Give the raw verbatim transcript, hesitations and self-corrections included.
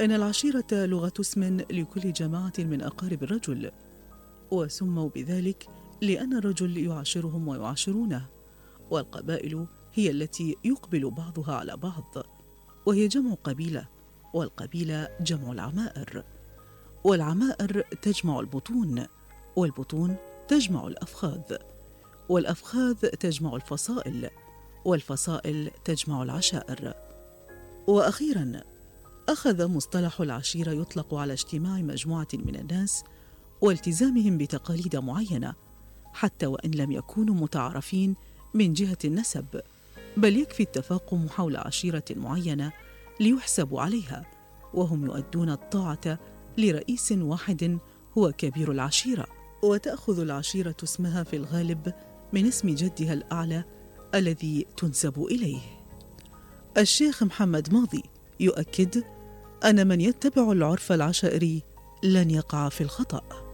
إن العشيرة لغة اسم لكل جماعة من أقارب الرجل، وسموا بذلك لأن الرجل يعاشرهم ويعاشرونه، والقبائل هي التي يقبل بعضها على بعض، وهي جمع قبيلة، والقبيلة جمع العمائر، والعمائر تجمع البطون، والبطون تجمع الأفخاذ، والأفخاذ تجمع الفصائل، والفصائل تجمع العشائر. وأخيراً، أخذ مصطلح العشيرة يطلق على اجتماع مجموعة من الناس والتزامهم بتقاليد معينة، حتى وإن لم يكونوا متعارفين من جهة النسب، بل يكفي التفاقم حول عشيرة معينة ليحسبوا عليها، وهم يؤدون الطاعة لرئيس واحد هو كبير العشيرة. وتأخذ العشيرة اسمها في الغالب من اسم جدها الأعلى الذي تنسب إليه. الشيخ محمد ماضي يؤكد أن من يتبع العرف العشائري لن يقع في الخطأ.